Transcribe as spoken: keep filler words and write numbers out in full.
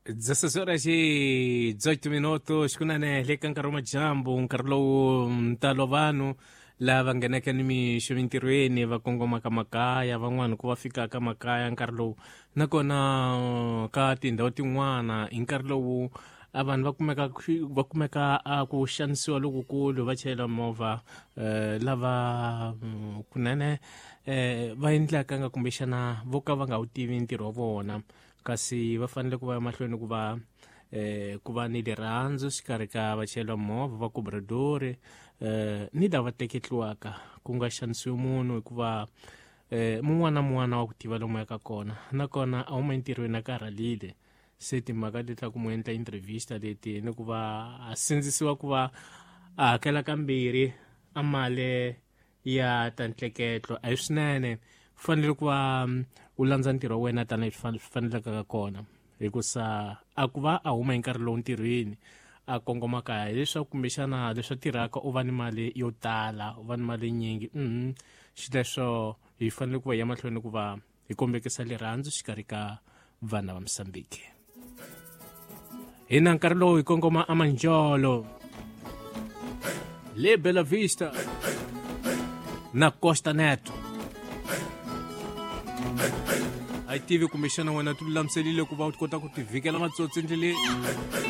dezesseis horas e dezoito minutos kunene le ka nkarhi wa madyambu, nkarhi lowu ntalo vanhu lava nghenaka ni mixo mintirhweni va kongomaka makaya, van'wani ku va fikaka makaya nkarhi lowu, nakona ka tindhawu tin'wana hi nkarhi lowu a vanhu va kumeka va kumeka a ku xanisiwa lokukulu va chayela movha, eh, lava mm, kunene eh, va endlaka nga kumbexana vo ka va nga wu tivi ntirho wa vona, kasi va fanele ku va emahlweni ku va eh, ku va ni rirhandzu xikarhi ka vachayeri va movha va cobradori eh, ni lava teketliwaka, ku nga xanisiwi munhu hikuva eh, mun'wana na mun'wana wa ku tiva lomu yaka kona, nakona a huma entirhweni a karhalile, se timhaka leti ta ku mu endla entrevista leti ni ku va a sindzisiwa ku va a hakela kambirhi a mali ya ta ntleketlo a hi swinene. Fanele ku va mm, u landza ntirho wa wena tanihi swi faneleke ka kona, hikusa a ku va a huma hi nkarhi lowu ntirhweni a kongoma kaya hileswaku kumbexana leswi a tirhaka u va ni mali yo tala, u va ni mali yinyingi. mm xileswo hi fanele ku va hi ya mahlweni ku va hi kombekisa rirhandzu xikarhi ka vana va Mosambiki. Hi na nkarhi lowu hi kongoma amanjolo le Bela Vista na Costa Neto. A yi tivi kumbexana wena ti lulamiselile ku va u kota ku ti vhikela matsotsi endleleni.